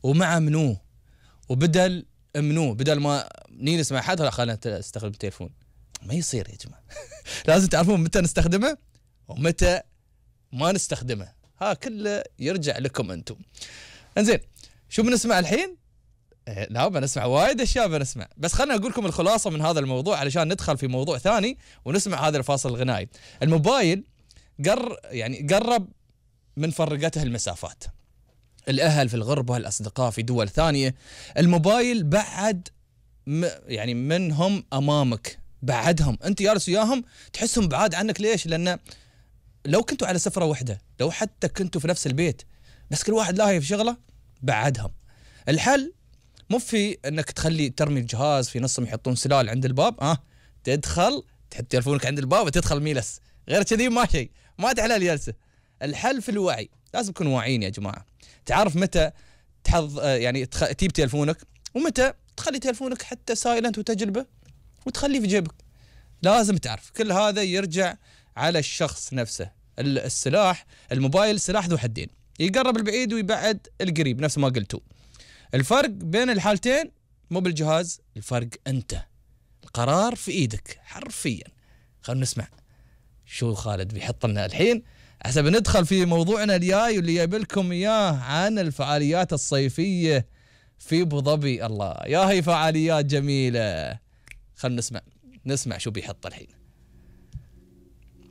ومع منو وبدل منو، بدل ما نجلس مع حد خلينا نستخدم التليفون. ما يصير يا جماعة. لازم تعرفون متى نستخدمه ومتى ما نستخدمه، ها كله يرجع لكم انتم. انزين شو بنسمع الحين؟ لا بنسمع وايد اشياء بنسمع، بس خلنا اقول لكم الخلاصة من هذا الموضوع علشان ندخل في موضوع ثاني ونسمع هذا الفاصل الغنائي. الموبايل قرب من فرقته المسافات، الأهل في الغربة، الأصدقاء في دول ثانية. الموبايل بعد يعني منهم أمامك، بعدهم أنت جالس وياهم تحسهم بعاد عنك. ليش؟ لأن لو كنتوا على سفرة واحدة، لو حتى كنتوا في نفس البيت، بس كل واحد لاهي في شغله، بعدهم. الحل مو في أنك ترمي الجهاز في نصهم يحطون سلال عند الباب، تدخل تحط تلفونك عند الباب وتدخل ميلس، غير كذي ما شيء، ما تحلى الجلسة. الحل في الوعي، لازم نكون واعيين يا جماعة. تعرف متى تجيب تلفونك، ومتى تخلي تلفونك حتى سايلنت وتجربه وتخليه في جيبك. لازم تعرف كل هذا يرجع على الشخص نفسه. السلاح الموبايل سلاح ذو حدين، يقرب البعيد ويبعد القريب نفس ما قلتوا. الفرق بين الحالتين مو بالجهاز، الفرق أنت، القرار في إيدك حرفيا. خلنا نسمع شو خالد بيحط لنا الحين حسب ندخل في موضوعنا الجاي واللي جايب لكم إياه عن الفعاليات الصيفية في أبو ظبي. الله يا هي فعاليات جميلة. خلنا نسمع شو بيحط الحين.